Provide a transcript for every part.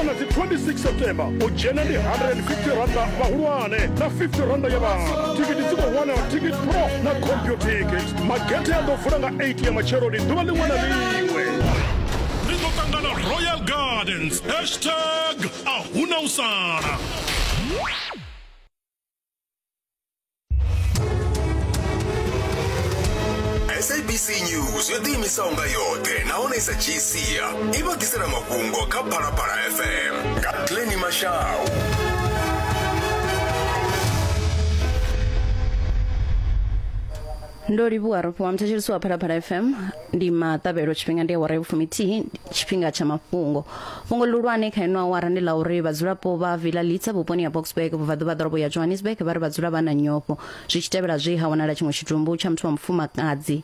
vha nga dzi 26 September. U dzhena ndi 150 randa vhahulwane na 50 randa ya vhana. Thikhithi dzi khou wanala Ticket Pro na Computicket. Magethe a ḓo vula nga 8 ya matsheloni ḓuvha ḽiṅwe na ḽiṅwe. Ri ḓo ṱangana Royal Gardens. Hashtag a huna u sala. SABC News yo ḓiimisaho nga yoṱhe nahone i sa dzhii sia i vha ḓisela mafhungo kha Phalaphala FM nga Glenny Mashau. Ndo livhuwa rofhiwa muthetshelesi wa Phalaphala FM. Ndi maṱavhelo tshifhinga ndi awara ya vhufumithihi tshifhinga tsha mafhungo. Fhungo ḽihulwane kha ino awara ndi ḽa uri vhadzulapo vha Villa Litsa vhuponi ha Boksburg vhubvaḓuvha ḓorobo ya Johannesburg vha ri vha dzula vha na nyofho zwi tshi tevhela zwe ha wanala tshiṅwe tshitumbu tsha muthu wa mufumakadzi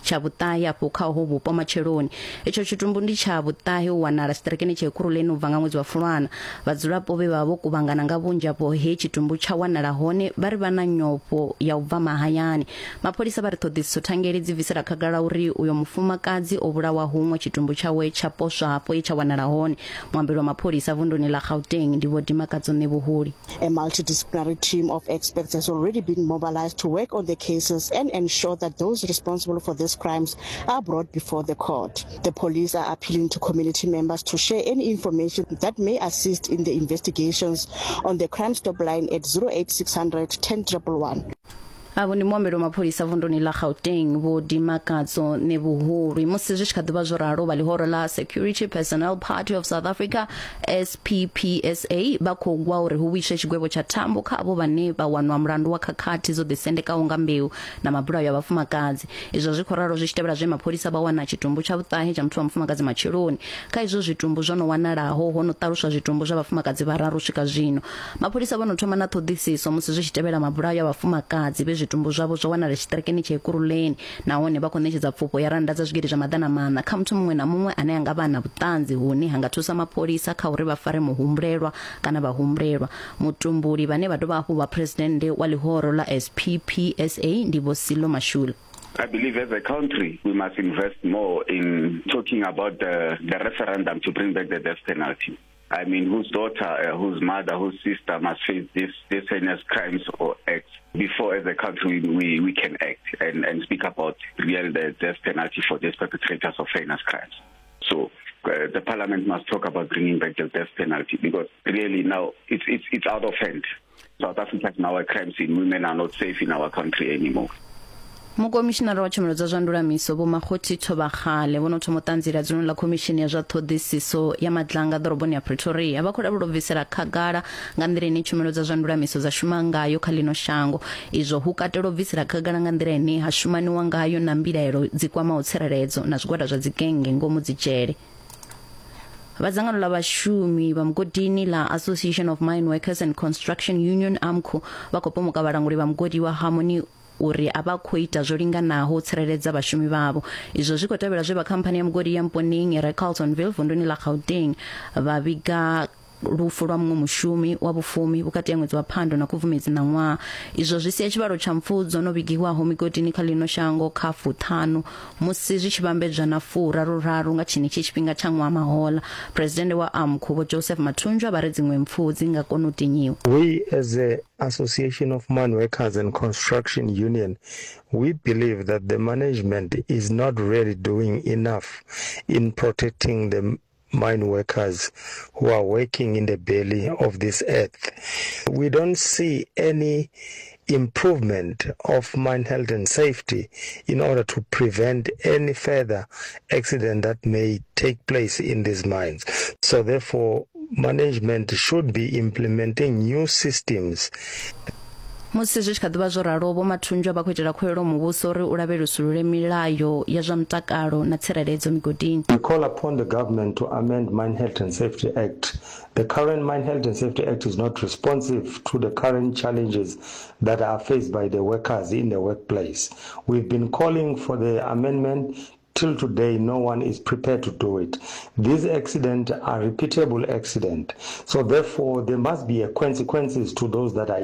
tsha vhuṱahe afho kha uho vhupo matsheloni. Itsho tshitumbu ndi tsha vhuṱahe u wanala tshiṱirikini tsha Ekurhuleni u bva nga ṅwedzi wa Fulwana. Vhadzulapo vhe vha vha vho kuvhangana nga vhunzhi afho he tshitumbu tsha wanala hone vha ri vha na nyofho ya u bva mahayani. Mapholisa vha ri ṱhoḓisiso thangeli dzi bvisela khagala uri uyo mufumakadzi o vhulawa huṅwe tshitumbu tshawe tsha poswa hafho he tsha wanala hone. Muambeli wa mapholisa vunduni ḽa Gauteng ndi Vho Dimakatso Ṋevhuhuli. A multidisciplinary team of experts has already been mobilized to work on the cases and ensure that those responsible for these crimes are brought before the court. The police are appealing to community members to share any information that may assist in the investigations on the Crime Stop line at 08600 10111. Avho ndi muambeli wa mapholisa vunduni ḽa Gauteng Vho Dimakatso Nevhuhulwi. Musi zwi tshi kha ḓivha zwo ralo, vha ḽihoro ḽa Security Personnel Party of South Africa SPPSA vha khou gwa uri hu vhuiswe tshigwevho tsha thambo kha avho vhane vha wanwa mulandu wa khakhathi dzo ḓisendekaho nga mbeu na mabulayo a vhafumakadzi. Izwo zwi khou ralo zwi tshi tevhela zwe mapholisa vha wana tshitumbu tsha vhuṱahe tsha muthu wa mufumakadzi matsheloni. Kha izwo zwitumbu zwo no wanalaho ho no ṱaluswa zwitumbu zwa vhafumakadzi vhararu u swika zwino. Mapholisa vho no thoma na ṱhoḓisiso musi zwi tshi tevhela mabulayo a vhafumakadzi vhe zwitumbu zwavho zwa wanala tshiṱirikini tsha Ekurhuleni nahone vha khou ṋetshedza pfufho ya rannda dza zwigidi zwa maḓana maṋa kha muthu muṅwe na muṅwe ane a nga vha a na vhuṱanzi hune ha nga thusa mapholisa kha uri vha fare muhumbulelwa kana vhahumbulelwa. Mutumbuli vhane vha dovha hafhu vha phresidennde wa ḽihoro ḽa SPPSA ndi Vho Sello Mashule. I believe as a country we must invest more in talking about the, the referendum to bring back the death penalty. I mean, whose daughter, whose mother, whose sister must face this, this heinous crimes or acts before as a country we, we can act and, and speak about real the death penalty for these perpetrators of heinous crimes. So the parliament must talk about bringing back the death penalty because really now it's, it's, it's out of hand. South Africa is now a crime scene. Women are not safe in our country anymore. Mukomishinara wa tshumelo dza zwa ndulamiso Vho Makgothi Thobakgale vho no thoma u ṱanziela dzuloni ḽa khomishini ya zwa ṱhoḓisiso ya madlanga ḓoroboni ya Pretoria. Vha khou lavhelelwa u bvisela khagala nga nḓila ine tshumelo dza zwa ndulamiso dza shuma ngayo kha ḽino shango. Izwo hu katela u bvisela khagala nga nḓila ine ha shumaniwa ngayo na mbilaelo dzi kwamaho tsireledzo na zwigwada zwa dzigennge ngomu dzidzhele. Vha dzangano ḽa vhashumi vha mugodini ḽa Association of Mine Workers and Construction Union AMCU vha khou pomoka vhalanguli vha mugodi wa Harmony uri a vha khou ita zwo linganaho u tsireledza vhashumi vhavho. Izwo zwi khou tevhela zwe vha khamphani ya mugodi ya Mponeng i re Carltonville vunduni ḽa Gauteng vha vhiga lufu lwa muṅwe mushumi wa vhufumi vhukati ha ṅwedzi wa Phando na Khubvumedzi ṋaṅwaha. Izwo zwi sia tshivhalo tsha mpfu dzo no vhigiwaho migodini kha ḽino shango kha fuṱhanu musi zwi tshi vhambedzwa na furaru-raru nga tshenetshi tshifhinga tsha ṅwaha mahoḽa. Phresidennde wa AMCU Vho Joseph Mathunjwa vha ri dziṅwe mpfu dzi nga kona u tinyiwa. We as a Association of Mine Workers and Construction Union, we believe that the management is not really doing enough in protecting the mine workers who are working in the belly of this earth. We don't see any improvement of mine health and safety in order to prevent any further accident that may take place in these mines. So therefore, management should be implementing new systems. Musi zwi tshi kha ḓi vha zwo ralo, Vho Mathunjwa vha khou itela khuwelelo muvhuso uri u lavhelesulule milayo ya zwa mutakalo na tsireledzo migodini. We call upon the government to amend Mine Health and Safety Act. The current Mine Health and Safety Act is not responsive to the current challenges that are faced by the workers in the workplace. We've been calling for the amendment. Till today, no one is prepared to do it. These accidents are repeatable accidents. So therefore, there must be a consequences to those that are